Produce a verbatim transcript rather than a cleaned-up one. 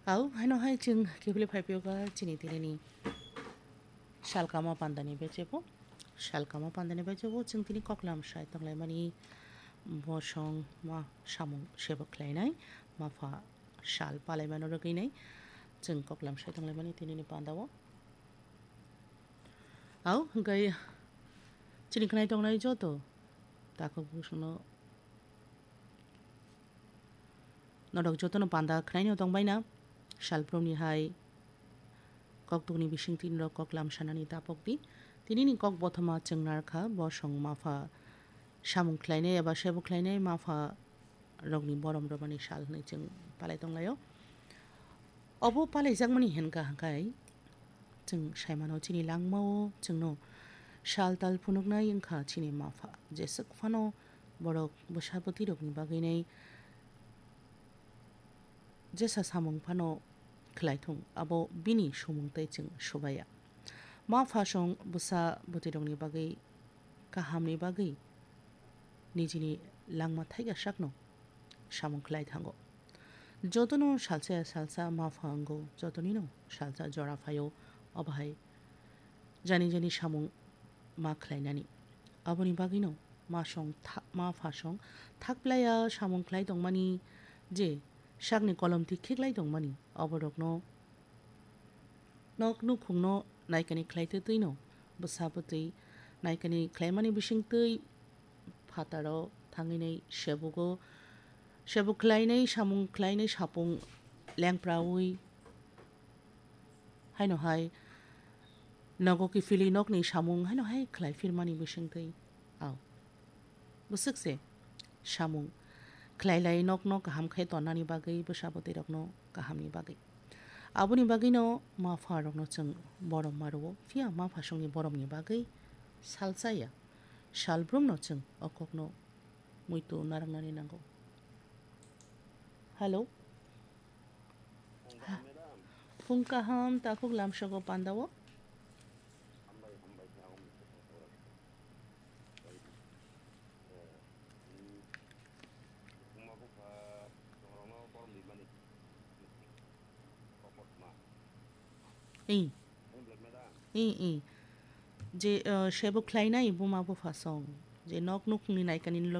Au, haino hai chwng kebele phai phiyokha chini tinini salkama pandani bechebo. Salkama pandani bechebo chwng tini koklam sai tonglaimani bosong ma samung sebo khlainai, mapha sal palaimano rwgwinai chwng koklam sai tonglaimani tinini pandao. Au, hwnkhe chini khnai tongnai joto takhuk bosongno norok jotono panda khwnaino tongbaina. Salbrumni hai koktukni bisingtwi norok koklam sanani tapokdi. Tinini kok bothoma chwng narkha, bosong mapha samung khlainai eba sebo khlainai mapha rokni borom rwmani sal hwnwi chwng palai tonglaio. Obo palaijakmani hinkha hwnkhe chwng saimano chini langmao chwngno sal tal phunuknai wngkha chini mapha. Jeswk phano borok bwsa bwtwi rokni bagwinai jesa samung phano khlai thung, abo bini sumung tei chwng subaya. Ma phasong bwsa bwtwirokni bagwi kahamni bagwi nijini langma thaika sakno samung khlai thango. Jotono salsa ya salsa ma pha wngo, jotonino salsa jora phaio, obo hai jani jani samung ma khlainani. Aboni bagwino ma song tha-, ma phasong thakplaiya samung khlai tongmani je sakni kolomti khiklai tongmani, oborokno nok nukhungno naikani khlaitwi twino bwsa bwtwi naikani khlaimani bisingtwi phataro thangwinai sebugo, sebuk khlainai samung khlainai sapung lengprawi haino hai nogo kiphilwi nokni samung haino hai khlai phirmani bisingtwi. Au. Bwswk se samung khlai lai nokno kaham khe tonnani bagwi, bwsa bwtwirokno kahamni bagwi. Aboni bagwino ma pha rokno chwng borom ma rwo, phiya ma phasongni boromni bagwi salsa ya. Salbrumno chwng o kokno muitu narwknani nango. Hello. Phung kaham, takhuk lamsogo pandao. Ih. Ih, ih. Je, eh, sebo khlainai buma bupha song. Je nok nukhungni naikani